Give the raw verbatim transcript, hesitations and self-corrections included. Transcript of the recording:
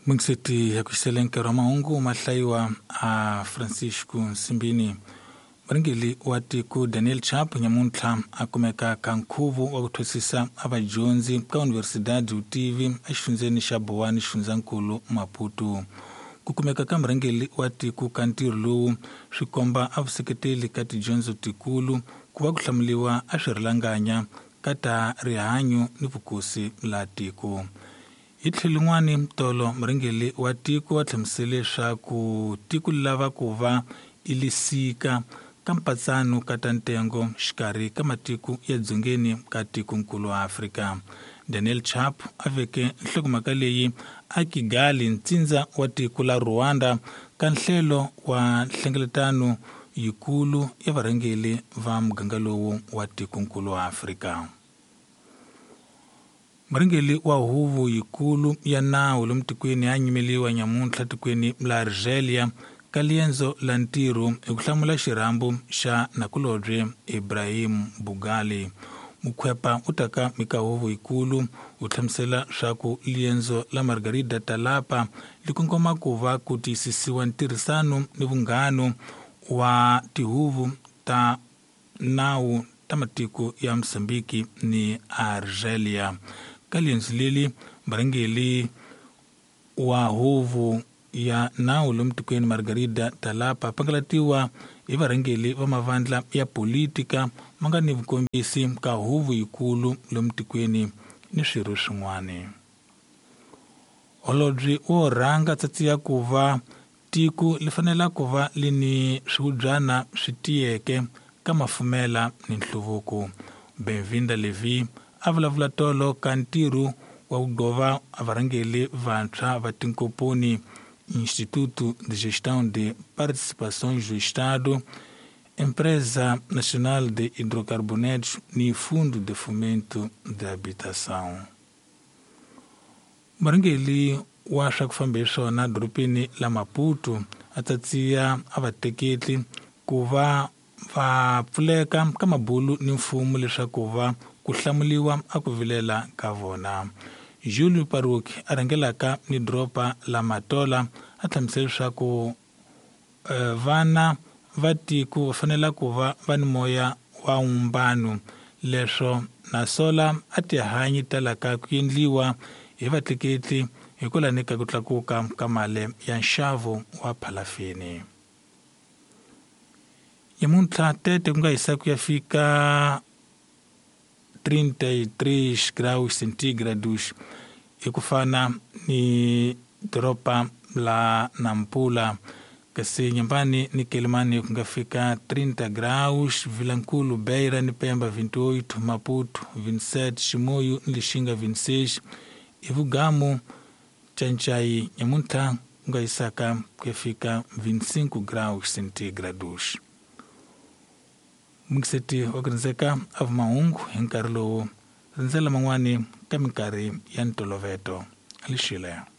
Mungiseti ya kuxisele nkarhi wa mahungu mahlayiwa a Francisco Nsimbini. Murhangeri wa tiko Daniel Chapo nyamuntlha a kumeka ka nkhuvo wa ku thwasisa a vadyondzi ka Universidade Utivi exifundzeni xa Boane xifundzankulu Maputo. Ku kumeka ka murhangeri wa tiko ka ntirho lowu swi komba a vuseketeli ka tidyondzo tikulu ku va ku hlamuriwa a swirhalanganya ka ta rihanyo ni vukosi la tiko. Hi tlhelo rin'wani tolo murhangeri wa tiko wa hlamusele leswaku tiko lava ku va ilisika ka mpatsano ka ta ntengo xikarhi ka matiko ya dzongeni ka tikonkulu wa Afrika. Daniel Chapo a veke nhlokomhaka leyi a Kigali ntsindza wa tiko la Rwanda ka nhlelo wa nhlengeletano yikulu ya varhangeri va muganga lowu wa tikonkulu wa Afrika. Murhangeri wa huvo yikulu ya nawu lomu tikweni ya nyimeliwa nyamuntlha tikweni la Algeria ka liendzo la ntirho hi ku hlamula xirhambo xa nakulobye Ibrahim Bugali. Mukhwepa u taka eka huvo yikulu u hlamusela swa ku liendzo la Margarida Talapa li kongoma ku va ku tiyisisiwa ntirhisano ni vunghano wa tihuvo ta nawu ta matiko ya Mozambique ni Algeria. Ka liendzo leli murhangeri wa huvo ya nawu lomu tikweni Margarida Talapa pangalatiwa hi varhangeri va mavandla ya politika ma nga ni vukombisi ka huvo yikulu lomu tikweni ni swirho swin'wana. Holobye wo rhanga tsatsi ya ku va tiko li fanela ku va li ni swihubyana swi tiyeke ka mafumela ni nhluvuko. Benvinda Levi a vulavula tolo ka ntirho wa ku gova varhangeri vantshwa va tinkomponi Instituto de Gestão de Participações do Estado, Empresa Nacional de Hidrocarbonetos e Fundo de Fomento de Habitação. Murhangeri wa swa ku famba hi swona dorobeni la Maputo a tsatsiya a vateketli ku va va pfuleka ka mabulu ni mfumo leswaku va ku hlamuriwa a ku vilela ka vona. Julio Paruki a rhangelaka ni doroba la Matola a hlamusela leswaku vana va tiko va fanele ku va va ni moya wa vumbano leswo nasola a tihanyi talaka ku endliwa hi vatleketli hikwalaho ka ku tlakuka ka mali ya nxavo wa phalafini. Nyamuntlha tete ku nga hisa ku ya fika trinta e três graus centígrados hi ku fana ni doroba la Nampula, kasi Nyambani ni Quelimane ku nga fika trinta graus, Vilankulu, Beira ni Pemba vinte e oito, Maputo vinte e sete, Chimoio ni Lixinga vinte e seis, Ivugamu, Chanchai nyamuntlha ku nga hisaka ku ya fika vinte e cinco graus centígrados. Mungiseti wa ku rindzeka a vumahungu hi nkarhi lowu rindzela man'wani ka minkarhi ya ntoloveto. Lixile.